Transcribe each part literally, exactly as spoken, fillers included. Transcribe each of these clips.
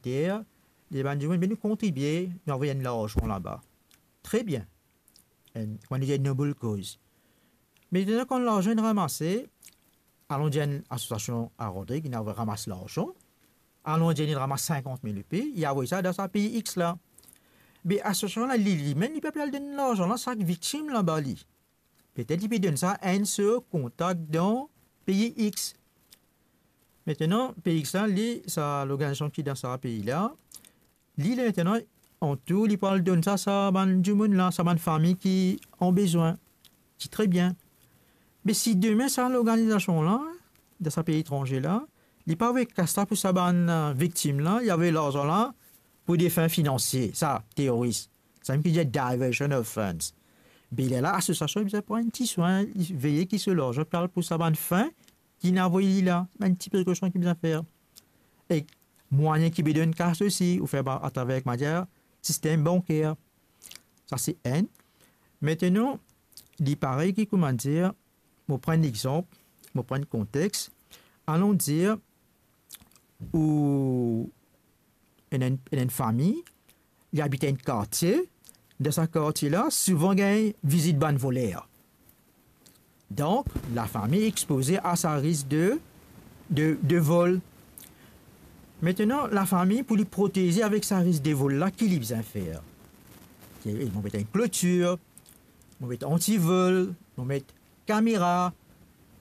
ter, li dir bann dimoun, "Be nou kontribie, nou avoy enn larzan laba." Tre bien. Enn, kouma nou dir, enn noble koz. Me detan kan larzan inn ranmase, alon dir enn asosiasion a Rodrig, inn avoy ramas larzan, alon dir inn ramas sinkant mil roupi, li avoy sa dan sa pei X la. Be asosiasion la, li, limem, li pa pe al donn larzan la sak viktim laba li. Petet li pe donn sa enn so kontak dan pei X. Aster, pei X la, li, sa lorganizasion ki dan sa pei la, li, li aster, antour, li pou al donn sa, sa bann dimoun la, sa bann fami ki an bezwin. Ti tre bien. Me si demin sa lorganizasion la, dan sa pei etranze la, li pa avoy kas la pou sa bann, eh, viktim la, li avoy larzan la pou de fin finansie, sa, teroris. Samem ki dir diversion of funds. Be lerla asosiasion bizin pran enn ti swin, veye ki so larzan pe al pou sa bann fin ki inn avoy li la, bann ti prekosion ki bizin fer. Ek mwayin ki pe donn kas osi, ou fer pa atraver, kouma dir, sistem banker. Sa se enn. Aster, li parey ki, kouma dir, mo pran enn lexanp, mo pran enn kontex. Alon dir, ou ena enn, ena enn fami, li abit enn kartie, dan sa kartie la, souvan gagn vizit bann voler. Donk, lafami expoze a sa risk de, de, de vol. Aster, lafami, pou li proteze avek sa risk de vol la, ki li bizin fer? Li, mo met enn klotir, mo met antivol, mo met kamera,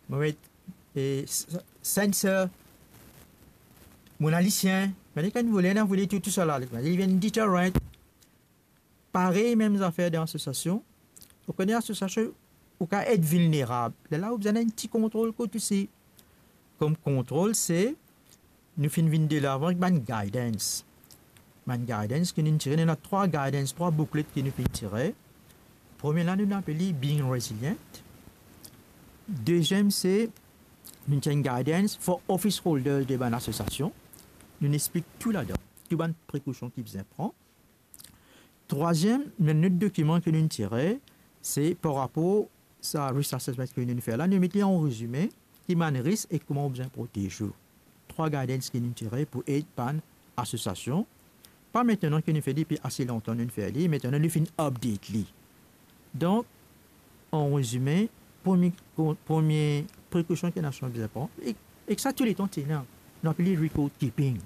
mo met, eh, s-, s-, sensor, mo ena lisien, me kan voler inn vole tou, tou sa la, li vinn deterrent. Parey, mem zafer dan asosiasion. Ou kone asosiasion, ou kav et vilnerab. Lerla ou bizin enn ti kontrol kot osi. Kom kontrol, se, nou finn vinn delavan ek bann guidance. Bann guidance ki nou tire, nou ena trwa guidance, trwa booklet ki nou finn tire. Premie la, nou apel li Being Resilient. Deziem, se, nou tir enn guidance for office holders de bann asosiasion. Nou explik tou ladan, tou bann prekosion ki bizin pran. Trwaziem, nou ena enn lot dokiman ki nou tire, se par rapor sa risk assessment ki nou fer la, nou met li an rezime, ki bann risk ek kouma ou bizin protez ou. Trwa guidance ki nou tire pou ed bann asosiasion. Pa aster ki nou fer li, depi ase lontan nou fer li, aster nou finn update li. Donk, an rezime, premie kon-, premie prekosion ki nasion bizin pran, ek, ek sa touletan ti ena, nou apel li record keeping.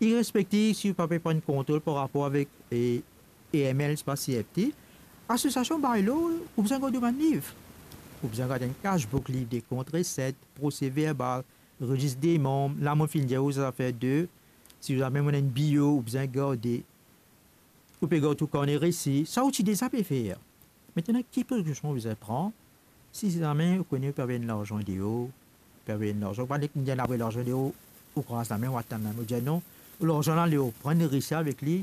Irespektiv si ou pa pe pran kontrol par rapor avek, eh, A M L, se pa C F T, asosiasion by law, ou bizin gard bann liv. Ou bizin gard enn cash book, liv de kont, reset, prose verbal, rezis de manm, la mo finn dir ou zafer de, si zame ou ena enn bio, ou bizin garde, ou pe gard tou karne resi, sa ou ti deza pe fer. Aster, ki prekosion ou bizin pran, si zame ou kone ou pe avoy enn larzan deor, ou pe avoy enn larzan, pa nek dir avoy larzan deor, ou kraz lame, ou atann lame, ou dir non, larzan la, ler ou pran, resi avek li,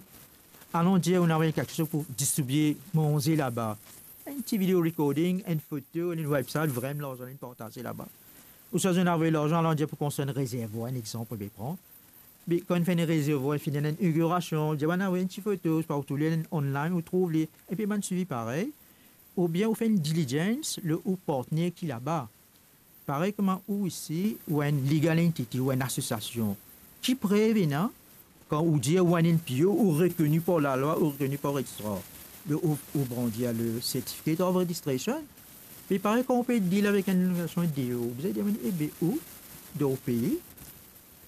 alon dir ou ena avoy kiksoz pou distribie manze laba. Enn ti video recording, enn foto, enn website, vremem larzan la inn partaze laba. Ouswa ou ena avoy larzan, alon dir pou konstrir enn rezervwar, enn exanp, ou pe pran. Be kan ou finn fer enn rezervwar, finn ena enn inaugurasion, dir bann avoy enn ti foto, pa ou trouv li online, ou trouv li, epi bann swivi parey, oubien ou fer enn diligence lor ou partner ki laba. Parey kouma ou osi, ou enn legal entity, ou enn asosiasion. Ki prev ena, kan ou dir ou enn N P O, ou rekoni par lalwa, ou rekoni par registrar, ou, ou brandi le Certificate of Registration. Me parey kan ou pe deal avek enn lorganizasion deor, ou bizin demann, ebe, ou, dan ou pei,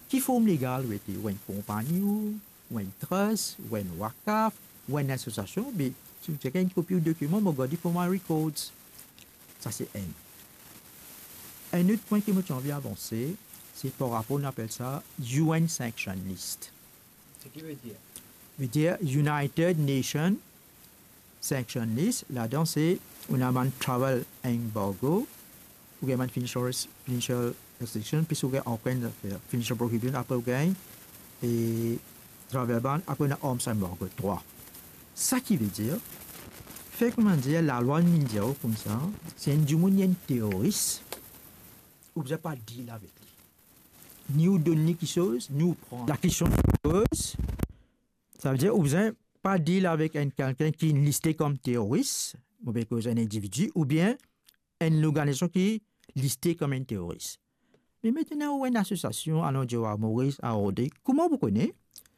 ki form legal ou ete, ou enn konpagni ou, ou enn trust, ou enn wakaf, ou enn asosiasion, be si ou ti gagn enn kopi ou dokiman, mo gard li for my records. Sa se enn. Enn lot pwin ki mo ti anvi avanse, se par rapor, nou apel sa U N sanction list. Seki vedir? Vedir United Nations sanction list, ladan se, ou ena bann travel embargo, ou gagn bann financial res-, financial restriction, plis ou gagn ankor enn zafer, financial prohibition, apre ou gagn, e, travel ban, apre ou ena arms embargo, trwa. Sa ki vedir, fer kouma dir, lalwa inn dir ou koumsa, si enn dimoun li enn teroris, ou bizin pa deal avek li. Ni ou donn li kiksoz, ni ou pran. Lakestion ki poze, savedir ou bizin pa deal avek enn kikenn ki liste kom teroris, oubien koz enn individi, oubien enn lorganizasion ki liste kom enn teroris. Me aster ou enn asosiasion, alon dir a Moris, a Rodrig, kouma ou pou kone?